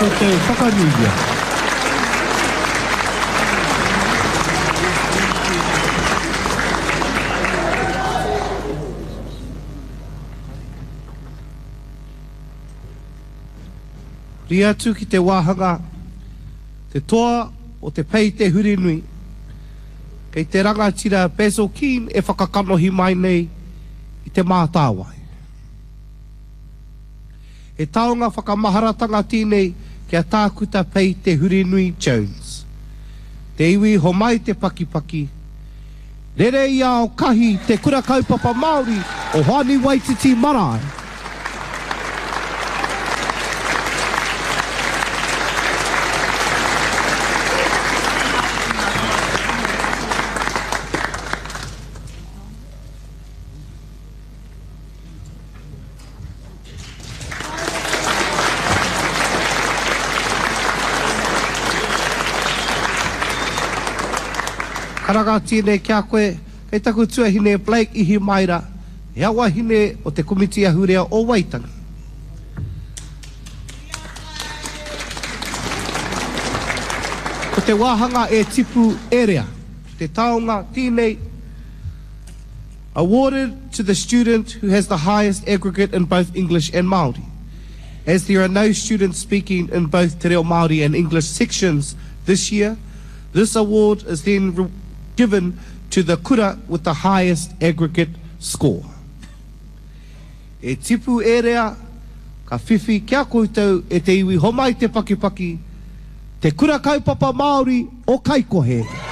koutou whakanuia. Huri atu ki te wāhanga Te Toa o te Pei Te Hurinui, kei te rangatira Basil Keane e whakakanohi mai nei i Te Mātāwai. He taonga whakamaharatanga tēnei ki a Tākuta Pei Te Hurinui Jones. Te iwi homai te pakipaki, rere i ao kahi Te Kura Kaupapa Māori o Hoani Waititi Marae. Karanga tēnei ki a koe, kei taku tuahine Blake Ihimaera, he wahine o te Komiti Ahurea o Waitangi. Ko te wāhanga e tipu e rea, te taonga tēnei, Awarded to the student who has the highest aggregate in both English and Māori. As there are no students speaking in both Te Reo Māori and English sections this year, this award is then given to the kura with the highest aggregate score. E tipu e rea, ka whiwhi ki a koutou e te iwi homai te pakipaki, Te Kura Kaupapa Māori o Kaikohe.